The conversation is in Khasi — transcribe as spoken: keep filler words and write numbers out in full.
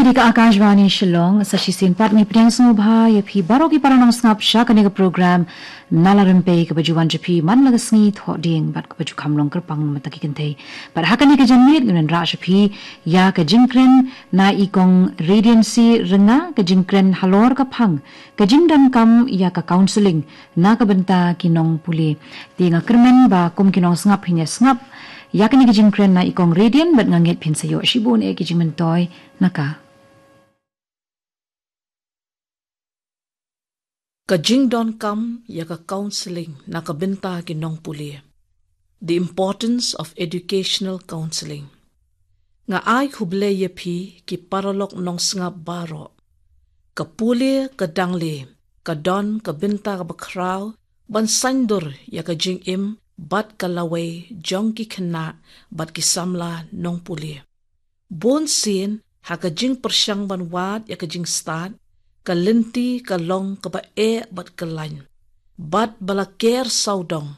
Dei ka Akashvani Shillong, sa shisien pat ngi pdiang sngewbha ïa phi baroh ki para nongsngap sha kane ka program Nala Rympei kaba ju wan sha phi man la ka sngi Thohdieng bad kaba ju kham long kyrpang na ka bynta ki kynthei. Bad ha kane ka janmiet ngin wanrah sha phi ïa ka jingkren na i Kong Radiancy Rynga, ka jingkren halor ka phang ka jingdonkam ïa ka counselling na ka bynta ki nongpule. Te nga kyrmen ba kum ki nongsngap phin ïa sngap ïa kane ka jingkren na i Kong Radian bad nga ngeit phin sa ïoh shibun eh ki jingmyntoi na ka. Ka jingdonkam ïa ka counselling na ka bynta ki nongpule. The importance of educational counselling. Nga ai khublei ïa phi ki paralok nongsngap baroh. Ka pule ka dangle, ka don ka bynta kaba khraw ban saiñdur ïa ka jingim bad ka lawei jong ki khynnah bad ki samla nongpule. Bun sien ha ka jingpyrshang ban wad ïa ka jingstad, ka lynti ka long kaba eh bad kyllain. Bad ba la ker sawdong